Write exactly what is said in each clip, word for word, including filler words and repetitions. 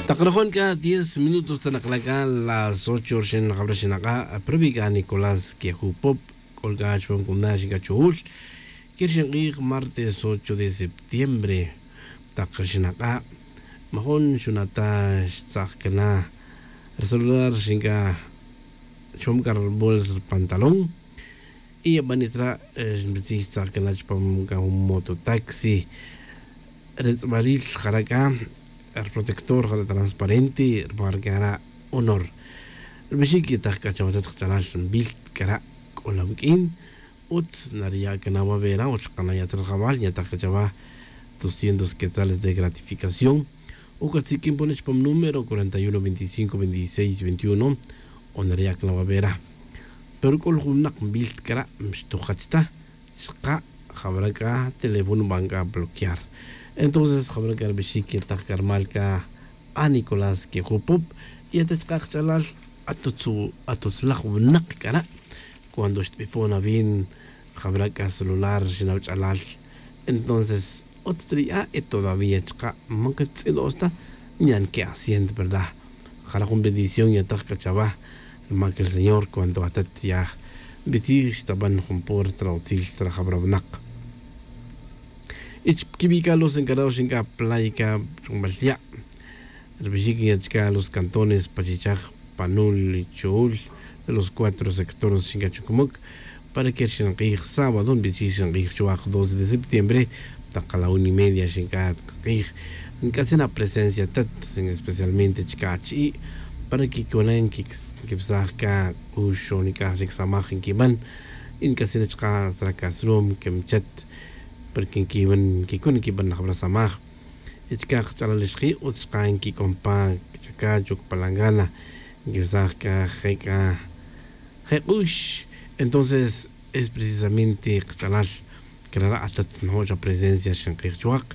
Tak rajon c'a diez minutos ta nakla' c'a las ocho rixin jabra xinak'a' pero wi c'a nicolás quejupop c'ol c'a chupam cumna' xincachuhul. Quir xink'ij martes ocho de septiembre tak rixinak'a', majun xuna' ta xtzak cana ri celular xinca chupam c'a ri bolsa ri pantalón. Y abanisra' xinbitzij xtzak cana chupam c'a jun mototaxi. Ri tz'abalil jara' c'a ri protector jara' transparente ri mar c'a ra' honor. Ri bixic yetaj c'a chawatat kach'alal nbil c'a ra' c'olam q'uin. Utz nariya' cana' wavera o chaka' naya' ta rajawal nyataj c'a chawa doscientos quetzales de gratificación. O catziq'uin pone chupam número cuarenta y uno veinticinco veintiseis veintiuno. O nariya' cana' wavera. Pero c'o ri jun winak nbil c'a ra' mixtojach ta. Chaka' jabra c'a teléfono nban c'a bloquear. Entonces jabra c'a ri bixic yetaj c'a ri mal c'a a nicolás quejupop. Y ata chaka' kach'alal atutzlaj winak c'a ra'. Cuando xtbipon awi' jabra c'a celular xinaw ch'alal. Entonces utz ta ri a y todavía chaka' man catz'ino's ta. Nyan que asiento verdad? Jara' jun bendición yataj c'a chawa. Ri mac el señor cuando atat ya nbitzij xtaban jun puerta ra utzil ta ri jabra winak. Y chiquibi' c'a los encarados xinc'a playa c'a chumbal ya' ri bixic ya chca los cantones pachichaj panul y chuhul de los cuatro sectores xinc'a chucumuc. Para que ri xink'ij sábado nbitzij xink'ij chuwak doce de septiembre. Tak la una y media xinc'a k'ij nc'atzin apresencia tat especialmente chca achi'i' para que cona nquibsaj c'a c'ux o nic'aj chic samaj nquiban. Y nc'atzin chka' sracasrum quimchat porque nquiban nquicun nquiban laj brasamaj. Y chka' kach'alal ixji' utz chka' nquic'om pa chacacho palangana. Nquibsaj c'a je' c'a je' k'ux. Entonces es precisamente kach'alal crara' atat njo' xa presencia xink'ij chuwak.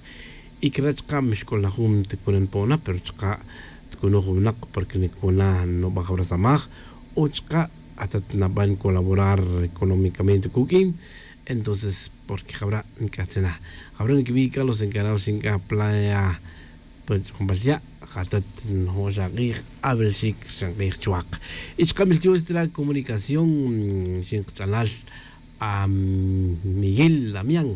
Y crara' chka' mixc'ul na jun ticunan po'ona pero chka' ticunuj winak porque nicuna nubaj brasamaj. O chka' atat naban colaborar económicamente cuq'uin. Entonces porque jabra' nc'atzin na jabra' niquibi' c'a los encarados xinc'a playa. Pues ch'umbal ya' jatat njo' xa k'ij. Abel xic xink'ij chuwak. Y chka' miltiox ta la comunicación xinkach'alal a miguel damián.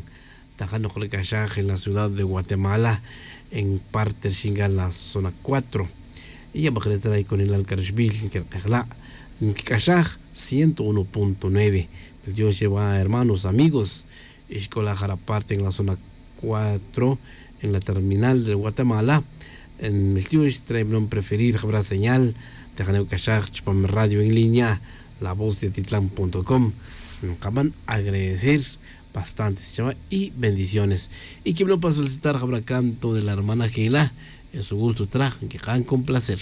Tajan nokrec'axaj en la ciudad de guatemala en parte xinc'a la zona cuatro. Y ya bakre' ta la iconilal c'a rixbil nquirk'ej la' nquic'axaj ciento uno punto nueve. Miltiox chewa hermanos amigos. Ixc'ola' jara' parte en la zona cuatro en la terminal de guatemala. Miltiox trae bnon preferir jabra señal. Tejane' uc'axaj chupam radio en línea la voz de titlan com. Nkaban agradecer bastante chawa y bendiciones. Y quibnon pa solicitar jabra canto de la hermana jela. En su gusto traj nkikan con placer.